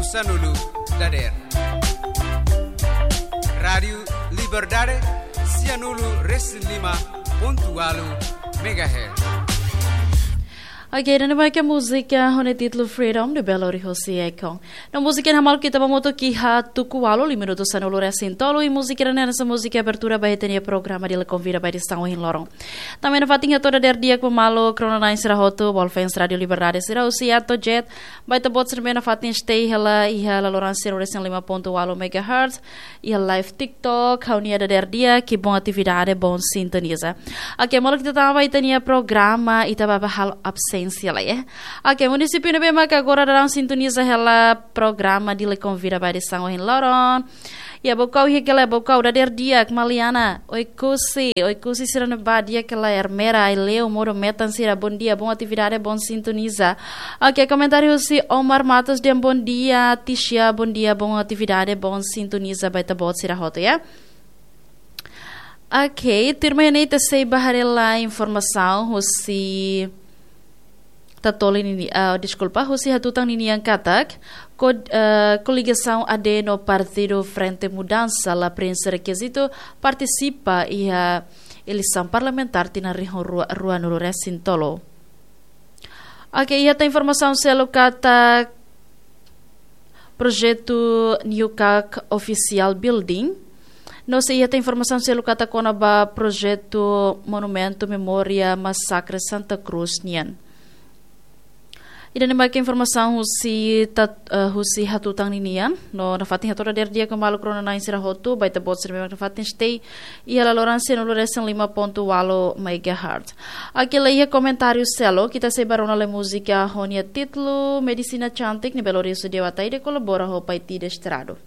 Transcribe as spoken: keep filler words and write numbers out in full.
Sanulu dader. Rádiu Liberdade, sianulu resin lima pontu walu megahertz. Oke, ida-ne'e mak múzika ho nia títulu Freedom, ne'ebé lori hosi Akon. No múzika ne'e hamaluk ita ba hamutuk iha tuku walu, liu minutu sanulu resin tolu, i múzika ne'e hanesan múzika abertura ba ita-nia programa Dili Konvida ba edisaun ohin loron. Tanba ne'e nafatin hato'o dader di'ak ba maluk rona-na'in sira hotu, ba fans Rádiu Liberdade sira husi Atojet, ba ita-boot sira ne'ebé nafatin stay hela iha laloran sianulu resin lima pontu walu megahertz, iha live TikTok, ha'u-nia dader di'ak, i bom atividade, bom sintoniza. Oke, maluk, ita tama ba ita-nia programa, ita bá halo absénsia lai, eh. Oke, munisípiu ne'ebé maka agora daudaun sintoniza hela programa Dili Konvida ba edisaun ohin loron. Iha Baucau, iha Quelé, Baucau, dader di'ak, Maliana, Oekusi, Oekusi sira ne'ebá di'ak hela, Ermera, Aileu, modo metan sira, bom dia, bom atividade, bom sintoniza. Oke, komentáriu husi Omar Matos dehan bom dia, Tisha, bom dia, bom atividade, bom sintoniza ba ita-boot sira hotu, ya. Oke, tuirmai ne'e ita sei bá haree lai informasaun husi Tatoli nini-, ah, deskulpa, husi Hatutan ninian katak, ko-, eh, koligasaun A D no Partidu Frente Mudansa la preenxe rekizitu partisipa iha eleisaun parlamentár tinan rihun rua, ruanulu resin tolu. Oke, iha tan informasaun seluk katak projetu New Kak Official Building. No sei iha tan informasaun seluk katak kona-ba projetu Monumentu Memória Masakre Santa Cruz nian. Ida-ne'e mak informasaun husi Tat-, eh, husi Hatutan ninian. No nafatin hato'o dader di'ak ba maluk rona-na'in sira hotu, ba ita-boot sira ne'ebé nafatin stay iha laloran sianulu resin lima pontu walu megahertz. Oke, la iha komentáriu seluk, ita sei bá rona lai múzika ho nia títulu Medisina Cantik, ne'ebé lori husi Dewa Ataide, kolabora ho Paiti Desterrado.